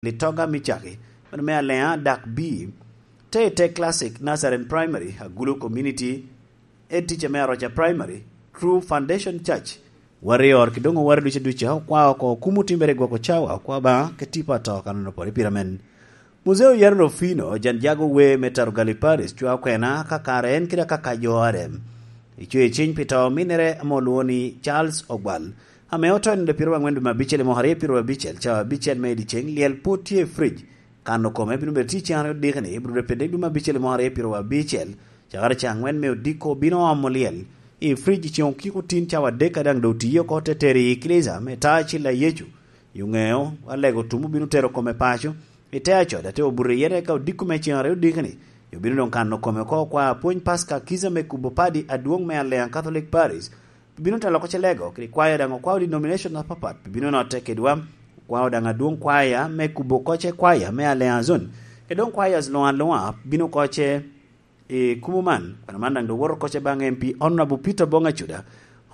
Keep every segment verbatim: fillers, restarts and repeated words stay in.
Litoga Micaki, meno me Alea Dak B, Tete Classic Nazarene Primary, Agulu Community, Ed Teacher me Aroca Primary, True Foundation Church, Warrior, ki doŋ oware ducu ducu, okwa oko kum otimmere i gwoko cawa, okwa Obaŋa, ke tipo ato kan onopore pira men. Muzeo Yaro Rufino, jan jago we me Tarugali Paris, cwa okwena, ka kare en kede akaka jo are. Icwe ciny pi to minnere ame olwoŋo ni Charles Ogwal, ame oto i nino pyeraryo aŋwen dwe me abicel i mwaka aryo pyeraryo abicel, cawa abicel me i dyeceŋ, lyel pwod tye i frij. Kano kome bino bedo tye ceŋ aryo diki ni, bino bedo pede dwe me abicel i mwaka aryo pyeraryo abicel, cakere ceŋ aŋwen me odiko bino omo lyel i frij i ceŋ okiko tin cawa adek a daŋ doŋ otiye oko te tero i eklesia me ta acil a Yecu. Yo ŋeo, alego tum obino tero kome paco, i te acode, te obuto iye, eka odiko me ceŋ aryo diki ni, yo bino doŋ kano kome oko okwa apwony Paska Kiza me kubo padi adwoŋ me Alea Catholic Paris, bino telo oko celego, kede kwaya daŋ okwao denomination apapat, bino notte kedwa, okwao daŋ adwoŋ kwaya me kubo koce kwaya me Alea Zone, kede doŋ kwaya luŋ aluŋa bino koce i kumo man. Kwena man daŋ doŋ woto koce baŋ M P Honorable Peter Bonga Cuda,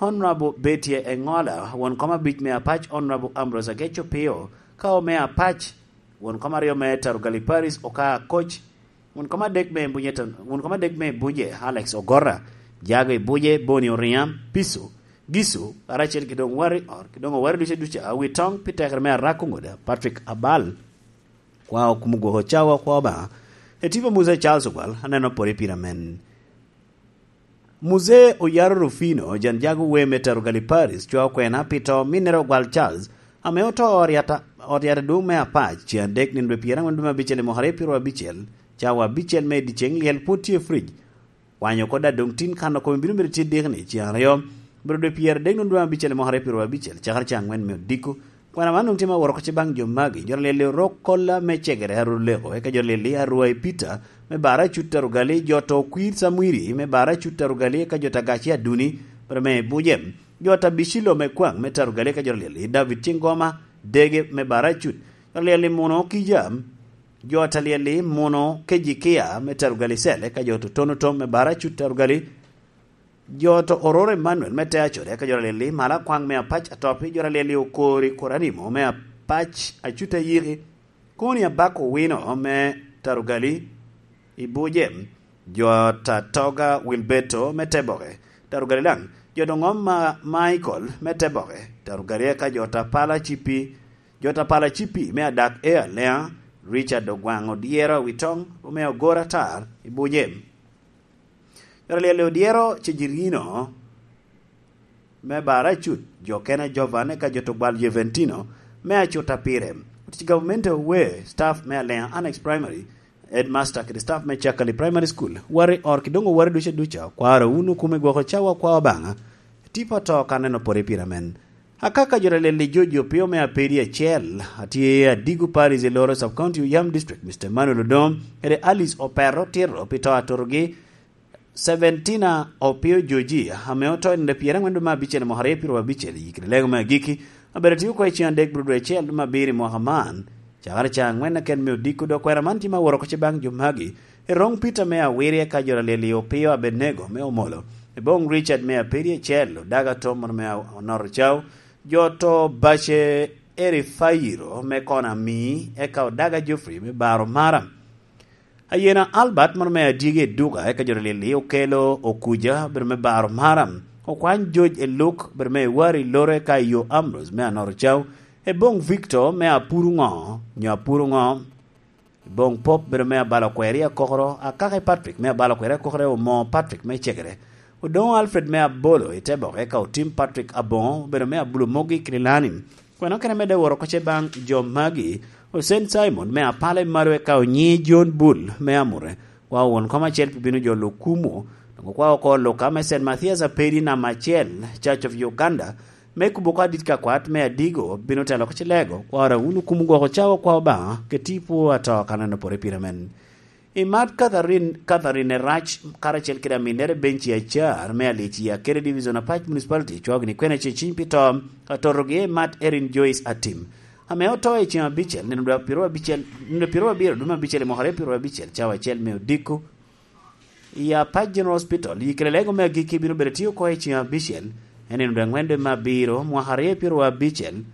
Honorable Betty Engola, won kom abic me Apac Honorable Ambrose Ageco Pio, ka ome Apac, won kom aryo me Tarugali Paris Oka Koc, won kom adek me Bunye, won kom adek me Bunye Alex Ogora, jago i Buje Boni Oriŋa, Piso, Giso, karacel ki doŋ wari or, ki doŋ owari duce duca, awi toŋ pi tekere me Arako Ŋoda, Patrick Abal. Kwa okumo gwoko cawa kwa Obaŋa. Etipa Musa Charles Ogwal, aneno pore pira men. Muzee Oyaro Rufino, jan jago we me Tarugali Paris, cwa okwena pi to minnere Ogwal Charles, ame oto ot yata, ot yata dum me Apac, ceŋ adek nino dwe pyeraŋwen dum abicel i mwaka aryo pyeraryo abicel, cawa abicel me dyeceŋ lyel pwod tye i frij. Kwanyo oko daŋ doŋ tin kano kome bino bedo tye diki ni ceŋ aryo, bedo dwe pyeraadek nino dwe abicel i mwaka aryo pyeraryo abicel, cakere ceŋ aŋwen me odiko. Kwena man doŋ tye me woro oko ce baŋ jo magi, jo lyel-li Orok Kolla me Cegere Aruleko, eka jo lyel-li Arwai Peter me Bara Cut Tarugali, jo to Kwir Samwiri me Bara Cut Tarugali, eka jo ta Gaci Aduni, Breme Bujem, jo ta Bicilo me Kwaŋ me Tarugali, eka jo lyel-li David Cingoma Dege me Bara Cut, jo lyel-li Muno Kijam, jo ta lyel-li Muno Kejikia me Tarugali Cell, eka jo to Tono Tom me Bara Cut Tarugali, jo to Ororo Emmanuel me Te Acode, eka jo ta lyel-li Mala Kwaŋ me Apac Atopi, jo ta lyel-li Okori Koranimo me Apac Acut Ayiki, Koni Abako Wino me Tarugali i Bujem, jo ta Toga Wilberto me Teboke, Tarugali Laŋ, jo doŋ ŋom ma Michael me Teboke, Tarugali eka jo ta Pala Cipi, jo ta Pala Cipi me Adak e Alea, Richard Ogwaŋ Odyero Awitoŋ, ome Ogora Atar i Bujem. Jo ta lyel-li Odyero Cejirino me Bara Cut, jo kene Jovan, eka jo to Gwal Juventino me Acuta Pire. Otic gavumenti owe, staff me Alea Annex Primary, headmaster kede staff me Cakali Primary School, wari or ki doŋ owari duca duca, kwaro wunu kume gwoko cawa kwa Obaŋa, tipo to ka neno pore pira men. Akaka jo ta lyel-li Jojo Pio me Apedi Acel, atye Adigo Parish i Loro Sub County Oyam District, Mister Emmanuel Odom, kede Alice Opero Tiro pi to atotogi, Seventina Opio Joji, ame oto i nino pyeraŋwen dwe me abicel i mwaka aryo pyeraryo abicel, i kite lego me agikki, abedo tye oko i ceŋ adek bro dwe acel dwe me abiro i mwaka man, cakere ca aŋwen aken me odiko, dok kwena man tye me aworo oko ce baŋ jo magi, Eroŋ Peter me Awirie ka jo ta lyel-li Opio Abednego me Omolo, Eboŋ Richard me Apedi Acel, Odaga Tom me Onoro Cao, jo to Bace Erifairo me Kona Mii, eka Odaga Geoffrey me Baro Maram. Ayena Albert mono me Adyegi Eduka, eka jo ta lyel-li Okelo Okuja, bedo me Baro Maram, Okwany George Eluk, bedo me Iwari Lore ka Iyo Ambrose me Anoro Cao, Eboŋ Victor me Apuru Ŋo, nyo Apuru Ŋo, Eboŋ Pop, bedo me Abalo Kweri Akokoro, Akaki Patrick me Abalo Kweri Akokoro, Omo Patrick me Cegere, Odoŋo Alfred me Abolo i Teboke, eka Otim Patrick Aboŋo, bedo me Abulo Mogi Kililani. Kwena kene medde woro oko ce baŋ jo magi, Osen Simon me Apala i Malo, eka Onyi John Bull me Amure, wa won kom acel pi bino jo Lukumo, doŋ okwa oko Luka me Saint Mathias Apedi namba acel, Church of Uganda, me kubo oko adit ka kwat me Adigo, bino telo oko cilego, kwara wunu kumo gwoko cawa kwa Obaŋa, ke tipo ato ka neno pore pire men. I mat Catherine, Catherine Erac, karacel kede aminnere Benci Acar, me Alici Akere Division Apac Municipality, cwao gini kwena ce ciny pi to, atotogi i mat Erin Joyce Atim, ame oto i ceŋ abicel, nino dwe pyeraryo abicel, nino pyeraryo abiro dwe me abicel i mwaka aryo pyeraryo abicel, cawa acel me odiko, i Apac General Hospital, i kede lego me agikki bino bedo tye oko i ceŋ abicel, en nino dwe aŋwen dwe me abiro, mwaka aryo pyeraryo abicel,